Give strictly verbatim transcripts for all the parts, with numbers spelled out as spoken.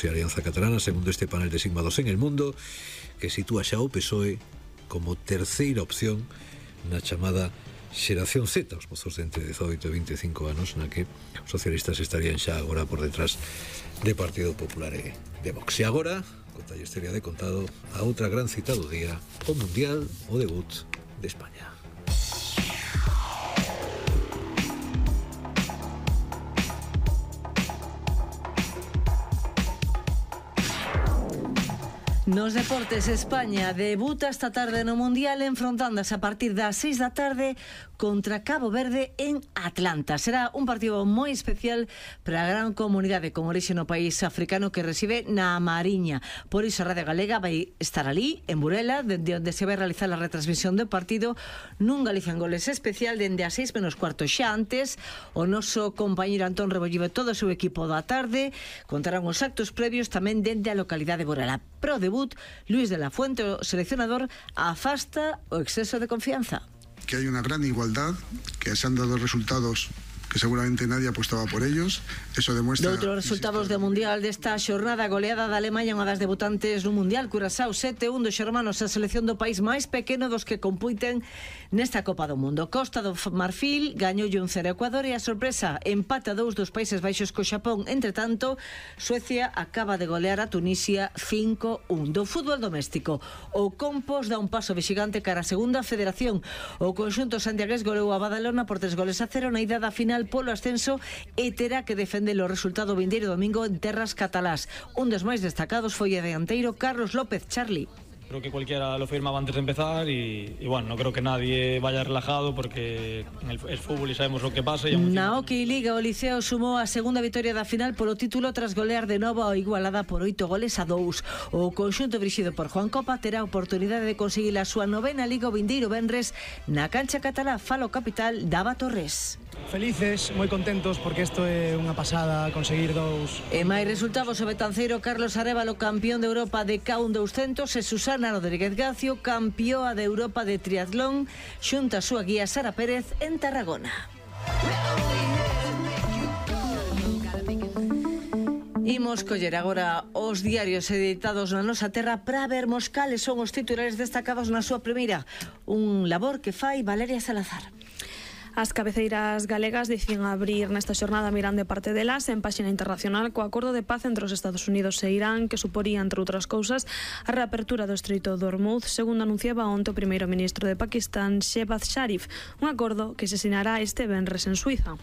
e Alianza Catalana, segundo este panel de sigmados en el mundo, que sitúa xa o P S O E como terceira opción na chamada xeración Z, os mozos de entre dezoito e vinte e cinco anos, na que os socialistas estarían xa agora por detrás de Partido Popular e de Vox. E agora, conta a historia de contado, a outra gran cita do día, o Mundial, o debut de España. Nos deportes, España debuta esta tarde no Mundial enfrontándose a partir das seis da tarde contra Cabo Verde en Atlanta. Será un partido moi especial para a gran comunidade con orixe no país africano que recibe na Mariña. Por iso a Radio Galega vai estar ali, en Burela, dende onde se vai realizar a retransmisión do partido nun Galicia en Goles especial dende as seis menos cuarto. Xa antes, o noso compañeiro Antón Rebollivo e todo o seu equipo da tarde contarán os actos previos tamén dende a localidade de Burela. Pro debut, Luis de la Fuente, o seleccionador, afasta o exceso de confianza. Que hay una gran igualdad, que se han dado resultados que seguramente nadie apostaba por ellos. Eso demuestra... De outros resultados do Mundial desta xornada, goleada da Alemanha, unha das debutantes no Mundial, Curazao sete un dos xermanos, a selección do país máis pequeno dos que compiten nesta Copa do Mundo. Costa do Marfil gañoulle un cero a Ecuador e a sorpresa, empate a dous dos Países Baixos co Xapón. Entre tanto, Suecia acaba de golear a Tunisia cinco un. Do fútbol doméstico, o Compos dá un paso vexigante cara a segunda federación. O conxunto santiagués goleou a Badalona por tres goles a cero na ida da final polo ascenso e terá que defender o resultado vindeiro domingo en terras catalás. Un dos máis destacados foi o dianteiro Carlos López. Charlie. Creo que cualquiera lo firmaba antes de empezar y, y bueno, no creo que nadie vaya relajado porque en el, el fútbol y sabemos lo que pasa. Y na Hockey Liga o Liceo sumou a segunda vitoria da final polo título tras golear de novo a Igualada por oito goles a dous. O conxunto dirixido por Juan Copa terá a oportunidade de conseguir a súa novena Liga o vindeiro venres na cancha catalá Falo Capital Dava Torres. Felices, moi contentos porque isto é unha pasada conseguir dous. E máis resultados, o betanceiro Carlos Arévalo, campeón de Europa de K un doscientos, e Susana Rodríguez Gacio, campeoa de Europa de triatlón, xunta a súa guía Sara Pérez en Tarragona. Imos coller agora os diarios editados na nosa terra para vermos cales son os titulares destacados na súa primeira. Un labor que fai Valeria Salazar. As cabeceiras galegas dicen abrir nesta xornada mirando de parte delas en páxina internacional co acordo de paz entre os Estados Unidos e Irán que suporía, entre outras cousas, a reapertura do Estreito de Hormuz, segundo anunciaba onte o primeiro ministro de Pakistán, Shehbaz Sharif, un acordo que se sinará este venres en Suiza.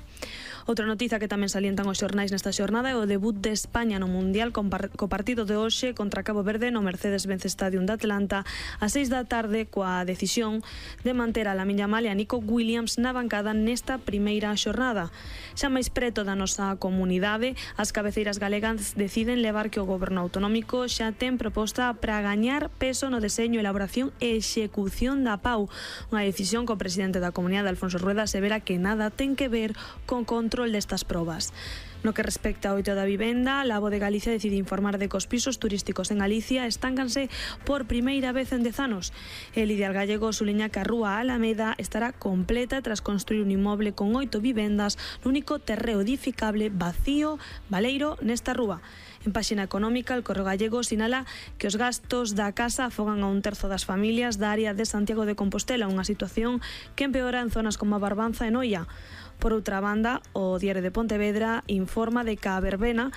Outra noticia que tamén salientan os xornais nesta xornada é o debut de España no Mundial co partido de hoxe contra Cabo Verde no Mercedes-Benz Stadium de Atlanta a seis da tarde coa decisión de manter a Lamine Yamal e a Nico Williams na bancada nesta primeira xornada. Xa máis preto da nosa comunidade, as cabeceiras galegas deciden levar que o goberno autonómico xa ten proposta para gañar peso no deseño, elaboración e execución da P A U, unha decisión que o presidente da comunidade, Alfonso Rueda, asevera que nada ten que ver con control destas probas. No que respecta ao oito da vivenda, a Labo de Galicia decide informar de que os pisos turísticos en Galicia estáncanse por primeira vez en dez anos. El Ideal Gallego suliña que a rúa Alameda estará completa tras construir un inmoble con oito vivendas no único terreo edificable vacío baleiro nesta rúa. En páxina económica, el Correo Gallego sinala que os gastos da casa afogan a un terzo das familias da área de Santiago de Compostela, unha situación que empeora en zonas como a Barbanza e Noia. Por outra banda, o Diario de Pontevedra informa de que a verbena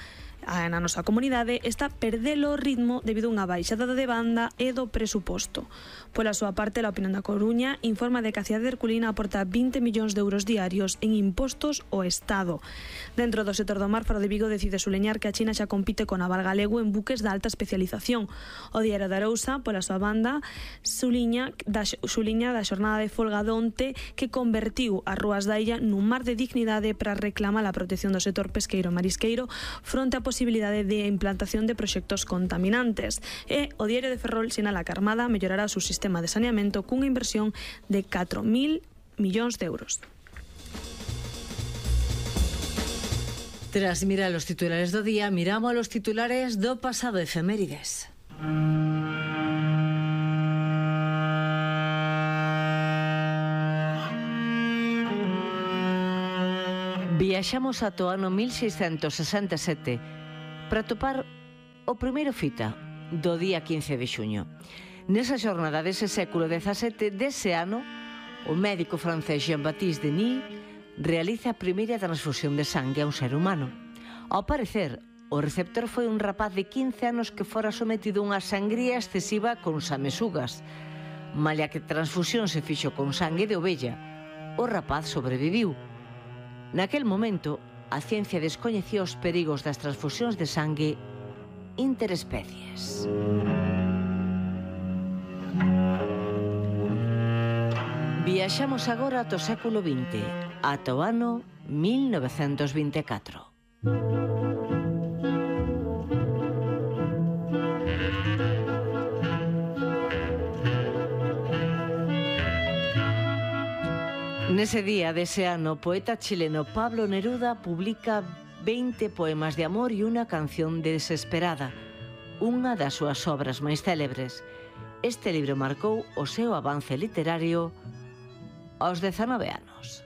na nosa comunidade está perdendo o ritmo debido a unha baixada de banda e do presuposto. Pola súa parte, a Opinión da Coruña informa de que a cidade de Herculina aporta vinte millóns de euros diarios en impostos ao Estado. Dentro do sector do mar, Faro de Vigo decide suleñar que a China xa compite con Naval Galego en buques de alta especialización. O Diario de Arousa, pola súa banda, suliña da, suliña da xornada de folga de onte que convertiu as rúas da illa nun mar de dignidade para reclamar a protección do sector pesqueiro e marisqueiro fronte a posibilidade de implantación de proxectos contaminantes. E o Diario de Ferrol sinala que a Armada mellorará o seu sistema de saneamento cunha inversión de catro mil millóns de euros. Tras mirar los titulares do día, miramos los titulares do pasado efemérides. Viaxamos ata o ano mil seiscentos sesenta e sete para topar o primeiro fita do día quince de xuño. Nesa xornada dese século dezasete, dese ano, o médico francés Jean-Baptiste Denis realiza a primeira transfusión de sangue a un ser humano. Ao parecer, o receptor foi un rapaz de quince anos que fora sometido a unha sangría excesiva con samesugas. Malia que a transfusión se fixo con sangue de ovella, o rapaz sobreviviu. Naquel momento, a ciencia descoñecía os perigos das transfusións de sangue interespecies. Viaxamos agora ata o século vinte, ata o ano mil novecentos vinte e catro. Nese día dese ano, o poeta chileno Pablo Neruda publica veinte poemas de amor e unha canción desesperada, unha das súas obras máis célebres. Este libro marcou o seu avance literario aos dezanove anos.